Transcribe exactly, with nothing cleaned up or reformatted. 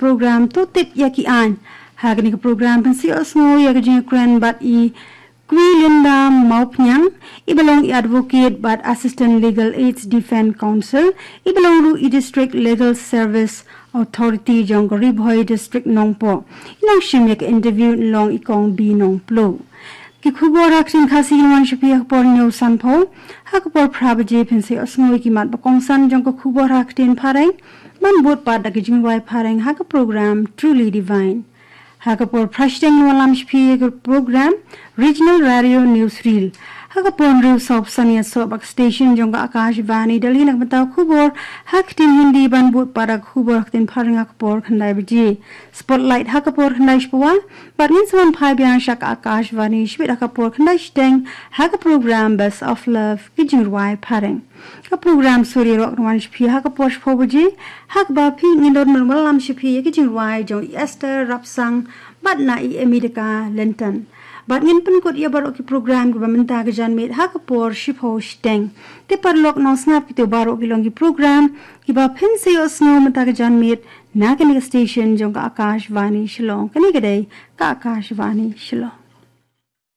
program To Tip ïa ki Aiñ. Ha kane ka program pynsiosngew ïa ka jingkren bad i Kwi Linda Mawphniang, i ba long i advocate bad Assistant Legal Aids Defense Counsel, i ba long ruh i District Legal Service Authority jong ka Ri Bhoi District Nongpoh. I nongshim ïa ka interview long i Kong B Nongplo. Ki khubor ha ka ktien Khasi kin wan sha phi ha ka por hynñiew sanphew. Ha ka por phra baje phin sa ïohsngew ïa ki mat ba kongsan jong ka khubor ha ka ktien Phareng, ban bud pat da ka jingrwai Phareng ha ka program Truly Divine. Ha ka por phra shiteng kin wallam sha phi ïa ka program Regional Radio News Reel. Ha ka por hynriew saw phew san ïa soh ba ka station jong ka Akashvani Delhi na ka bynta khubor ha ka ktien Hindi, ban bud pat da ka khubor ha ka ktien Phareng ha ka por khyndai baje. Spotlight ha ka por khyndai shiphew wah, bad ngin sa wan phai biang sha ka Akashvani shibit ha ka por khyndai shiteng ha ka program Best of Love, ka jingrwai Phareng. Ka program Sur Ïaroh kan wan sha phi ha ka por shiphew baje. Ha kaba phi ngin don ban wallam sha phi ïa ka jingrwai jong i Esther Rapsang bad na i America Linton. Bad ngin pynkut ïa baroh ki program kiba mynta ka janmiet ha ka por shiphew shiteng. Te paralok nongsngap, kito baroh ki long ki program kiba phin sa ïohsngew mynta ka janmiet na kane ka station jong ka Akashvani Shillong. Kane ka dei ka Akashvani Shillong.